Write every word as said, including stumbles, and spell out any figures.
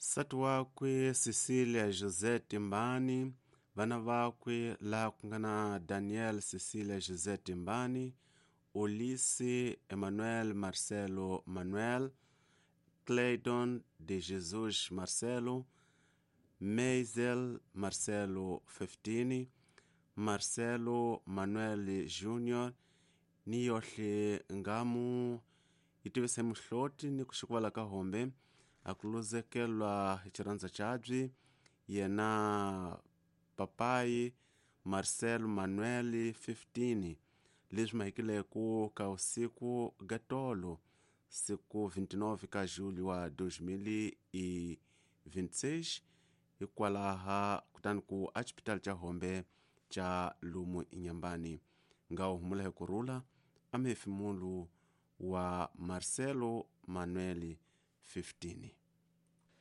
Nsati wakwe Cecilia José Timbani, vana vakwe laha ku nga na Daniel Cecilia José Timbani, Ulisse Emmanuel Marcelo Manuel, Clayton de Jesus Marcelo, Meisel Marcelo Feftini, Marcelo Manuel Junior ni yohle ngamu yi tivisa hi muhloti ni ku xikuvala ka hombe a ku luzekelwa hi xirhandza xabyi yena papayi Marcelo Manuel fifteen leswi mahikileko ka usiku ga tolo siku vinte e nove ka julho wa dois mil e vinte e seis hikwalaha kutani ku a xipitali xa hombe xa lumu inyambani nga wu humula hi kurhula a muhefemulu wa Marcelo Manuel fifteen.